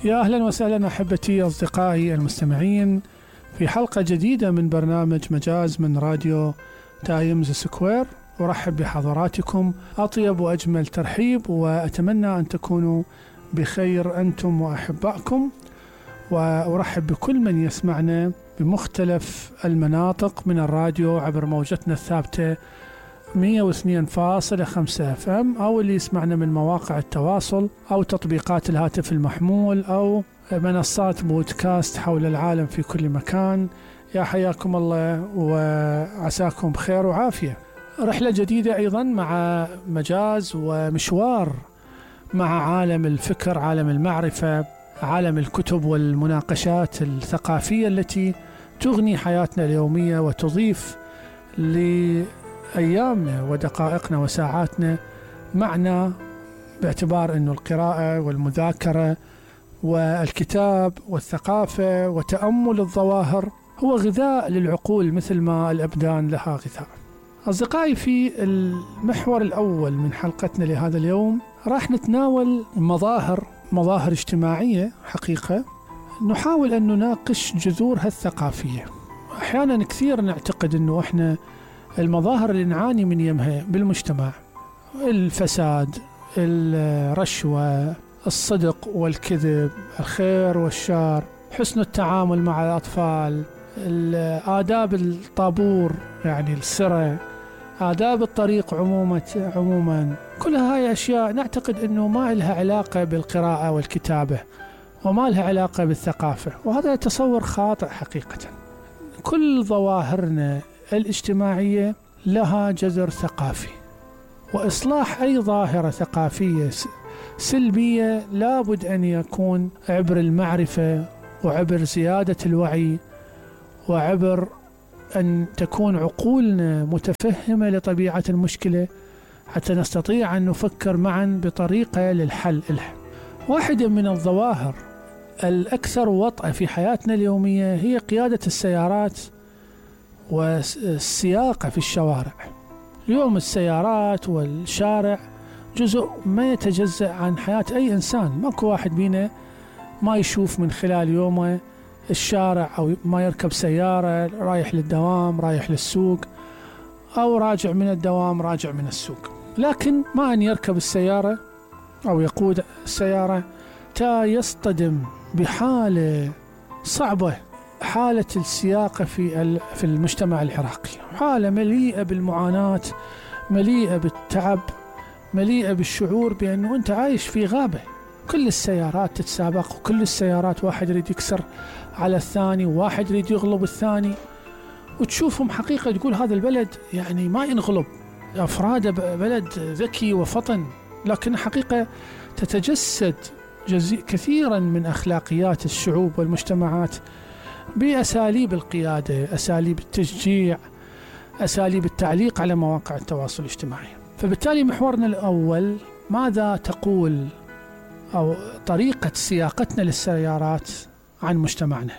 يا أهلا وسهلا أحبتي أصدقائي المستمعين في حلقة جديدة من برنامج مجاز من راديو تايمز سكوير. أرحب بحضراتكم أطيب وأجمل ترحيب، وأتمنى أن تكونوا بخير أنتم وأحبائكم، وأرحب بكل من يسمعنا بمختلف المناطق من الراديو عبر موجتنا الثابتة 102.5 FM، أو اللي يسمعنا من مواقع التواصل أو تطبيقات الهاتف المحمول أو منصات بودكاست حول العالم في كل مكان. يا حياكم الله وعساكم بخير وعافية. رحلة جديدة أيضا مع مجاز ومشوار مع عالم الفكر، عالم المعرفة، عالم الكتب والمناقشات الثقافية التي تغني حياتنا اليومية وتضيف لأيامنا ودقائقنا وساعاتنا معنا، باعتبار أن القراءة والمذاكرة والكتاب والثقافة وتأمل الظواهر هو غذاء للعقول مثل ما الأبدان لها غذاء. أصدقائي، في المحور الأول من حلقتنا لهذا اليوم راح نتناول مظاهر اجتماعية حقيقة، نحاول أن نناقش جذورها الثقافية. أحيانا كثير نعتقد أنه إحنا المظاهر اللي نعاني من يمها بالمجتمع، الفساد، الرشوة، الصدق والكذب، الخير والشر، حسن التعامل مع الأطفال، آداب الطابور يعني السرة، آداب الطريق عموما، كل هاي أشياء نعتقد أنه ما لها علاقة بالقراءة والكتابة وما لها علاقة بالثقافة، وهذا تصور خاطئ حقيقة. كل ظواهرنا الاجتماعية لها جذر ثقافي، وإصلاح أي ظاهرة ثقافية سلبية لابد أن يكون عبر المعرفة وعبر زيادة الوعي وعبر أن تكون عقولنا متفهمة لطبيعة المشكلة حتى نستطيع أن نفكر معا بطريقة للحل لها. واحدة من الظواهر الأكثر وطأة في حياتنا اليومية هي قيادة السيارات والسياقة في الشوارع. اليوم السيارات والشارع جزء ما يتجزأ عن حياة أي إنسان، ماكو واحد بينا ما يشوف من خلال يومه الشارع، أو ما يركب سيارة رايح للدوام، رايح للسوق، أو راجع من الدوام، راجع من السوق. لكن ما أن يركب السيارة أو يقود السيارة تا يصطدم بحالة صعبة، حالة السياقة في المجتمع العراقي، حالة مليئة بالمعاناة، مليئة بالتعب، مليئة بالشعور بأنه أنت عايش في غابة. كل السيارات تتسابق، وكل السيارات واحد يريد يكسر على الثاني، وواحد يريد يغلب الثاني، وتشوفهم حقيقة تقول هذا البلد يعني ما ينغلب، أفراد بلد ذكي وفطن، لكن حقيقة تتجسد كثيرا من أخلاقيات الشعوب والمجتمعات بأساليب القيادة، أساليب التشجيع، أساليب التعليق على مواقع التواصل الاجتماعي. فبالتالي محورنا الأول، ماذا تقول أو طريقة سياقتنا للسيارات عن مجتمعنا؟